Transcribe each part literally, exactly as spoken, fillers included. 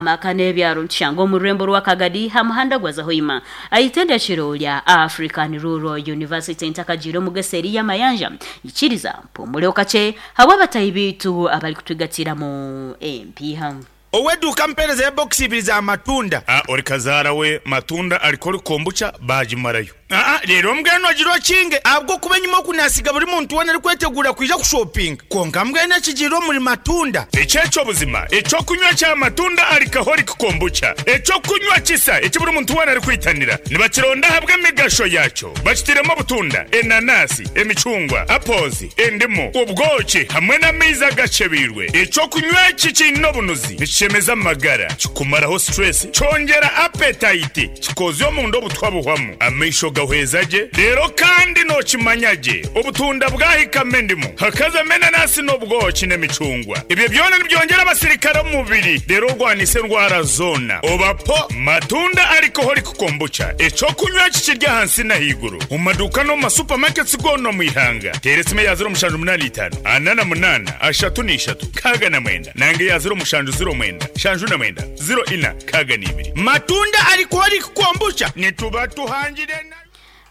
Amaka n'ebyaro nitushanga omu rurembo rwa Kagadi ha muhanda gwa Zahoima aitendekero lya African Rural University. Ntakagiire omu geseeri y'amayanja, ikiriza mpumuleho kakye habw'abatahi biitu abari kutwigatiramu empiiha. Oweduuka, mpereza ebokisi ibiri za matunda. Ah, ori kazaara we matunda ariko kombucha bagimarayo. Aa, rero mbwenu ogira okinge, ahabw'okuba enyuma okunasiga buri muntu wena arikwetegura kwija kushopinga, konka mbwenu ekigiire omuri matunda. Ekyekyo buzima ekyokunywa kya matunda alcoholic kombucha, ekyokunywa kisa eki buri muntu wena arikwitanira, nibakironda ahabw'emigasho yakyo. Bakitiremu obutunda, enanasi, emicungwa, apples, endimu, obwoki hamwe n'amaizi agacebiirwe. Ekyokunywa eki kiine obunuzi, nikishemeza amagara, kikumaraho stress, kyongera appetite, kikozya omunda obutwa buhwamu, amaisho gahweza gye. Rero kandi nokimanya gye, obutunda bwahikamo endimu, hakazamo enanasi n'obwoki n'emicungwa, ebyo byona nibyongera abasirikare omu mubiri, rero orwanisa endwara zoona. Obapo matunda alcoholic kombucha, ekyokunywa kikirya ahansi n'ahaiguru, mu maduuka no mu masupamaketi goona omu ihanga. Teera esimu eya ziro mushanju munaana itaano ana na munaana ashatu n'ishatu nkaaga na mwenda, nange eya ziro mushanju ziro mwenda shanju na mwenda ziro ina nkaaga n'ibiri. Matunda alcoholic kombucha, nituba tuhangire na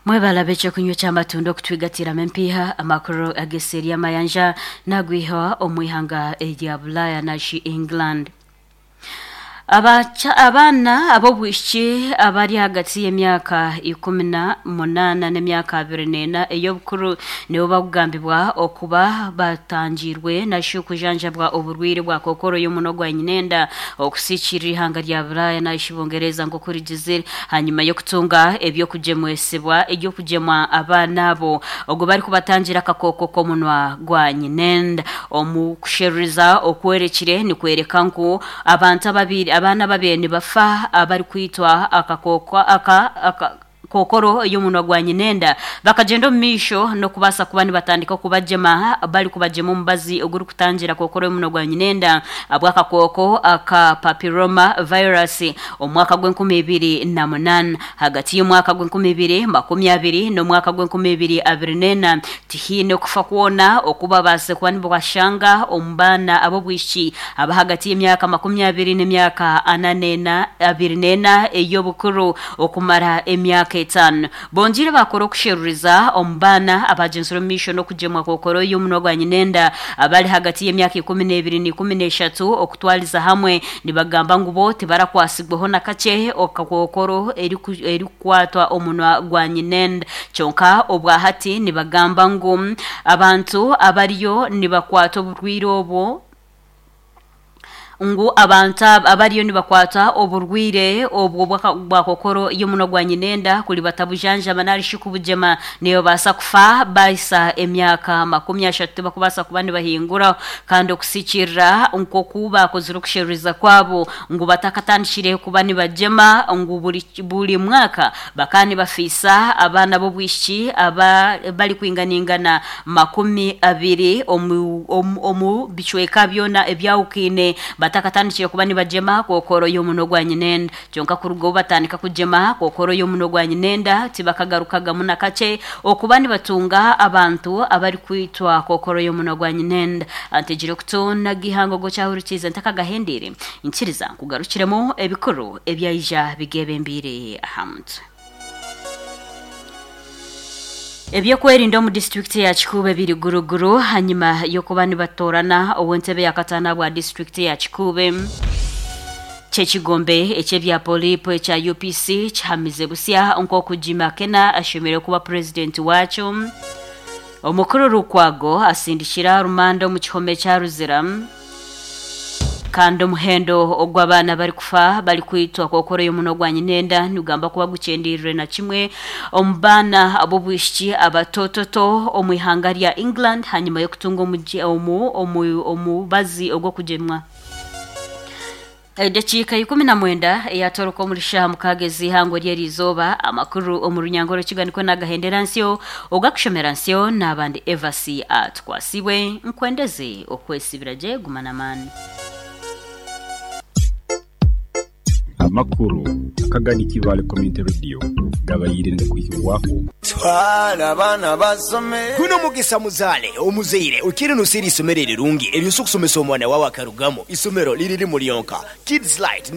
Mwebalabe ekyokunywa ky'amatunda okutwigatiramu empiiha. Amakuru ageseeri y'amayanja nagwiha omu ihanga erya Bulaya nashi England. Abacha, abaana ab'obwishiki abari hagati y'emyaka ikumi na munaana n'emyaka abiri n'ena ey'obukuru nibo bakugambibwa okuba batangirwe nashi okujanjabwa oburwire bwa kokoro y'omuno gwa nyinenda okusikirira ihanga rya Bulaya nashi Bungereza nk'oku rigizire, hanyuma y'okutunga ebyokugyemwesibwa ebyokugyemwa abaana abo ogwo bari kubatangira akakoko k'omunwa gwa nyinenda. Omu kusheruriza okwerekire nikwereka ngu abantu ababiri, abaana babiri nibafa abari kwitwa akakoko aka, aka kokoro y'omunwa gwa nyinenda, bakagenda omu maisho n'okubaasa kuba nibatandika kubajema, bari kubajema omubazi ogurikutangira kokoro y'omunwa gwa nyinenda abw'akakooko aka papilloma virus omwaka gw'enkumi ibiri na munaana. Hagati y'omwaka gw'enkumi ibiri makumi abiri n'omwaka gw'enkumi ibiri abiri n'ena, tihiine okufa kwona okubabaase kuba nibashanga omu baana ab'obwishiki aba hagati y'emyaka makumi abiri n'emyaka ana n'ena abiri n'ena ey'obukuru okumara emyaka etaano. Bongiire bakora okusheruriza omu baana abagyenzire omu maisho n'okugyemwa kokoro y'omunwa gwa nyinenda abari hagati y'emyaka ikumi n'ebiri n'ikumi n'eshatu okutwariza hamwe, nibagamba ngu bo tibarakwasibweho na kakye okakokoro eriku- erikukwatwa omunwa gwa nyinenda. Kyonka obwahati nibagamba ngu abantu abariyo nibakwata oburwire obwo, ngu abantu ab- abariyo nibakwata oburwire obwo bwaka- bwa kokoro y'omunwa gwa nyinenda, kuri batabujanjaba narishi kubugyema, nibabaasa kufa baisa emyaka makumi ashatu, tibakubaasa kuba nibahingura. Kandi okusikirira nk'oku bakozire okusheruriza kwabo ngu batakatandikire kuba nibagyema, ngu buri, buri mwaka bakaba nibafiisa abaana b'obwishiki aba bari kwinganingana makumi abiri omu, omu, omu bicweka byona ebyawukiine batakatandikire kuba nibagyema kokoro y'omunwa gwa nyinenda. Kyonka kuruga obu batandika kugyema kokoro y'omunwa gwa nyinenda, tibakagarukagamu na kakye okuba nibatunga abantu abari kwitwa kokoro y'omunwa gwa nyinenda. Antegire okutona gihango gokyahurikiza, ntakagahendere nkiriza nkugarukiremu ebikuru ebyaija bigebembiire aha mutwe. Ebyokwerinda omu disitulikiti ya Kikuube biri guruguru hanyuma y'okuba nibatorana ow'entebe ya kataano bwa disitulikiti ya Kikuube. Kyekigombe ekyebya polipo ekya U P C kihamize busya nk'oku Jim Akena ashemereire kuba purezidenti wakyo. Omukuru Lukwago asindikira rumanda omu kihome kya Ruzira. Kandi omuhendo ogw'abaana bari kufa bari kwitwa kokoro y'omunwa gwa nyinenda nigamba kuba gukyendeire na kimwe omu baana ab'obwishiki abatototo omu ihanga rya England hanyuma y'okutunga omugi- omu omu omubazi ogw'okugyemwa. Edakiika ikumi na mwenda eyatoroka omuri shaha mukaaga ez'ihangwe ry'erizooba. Amakuru omu runyango rw'ekiganiko nagahendera nsyo, ogakushomera nsyo n'abandi Evasi Atwasibwe. Nkwendeze okwesibira gye, guma n'amaani. Amakuru akagani Kivale Community Radio gabayire ngakwihibwaho. Twala abaana basome. Guno mugisa muzaale omuzaire okiri nosiira isomero erirungi eryosa okusomesa omwana wawe akarugamo. Isomero liri limu lyonka, Kids Light.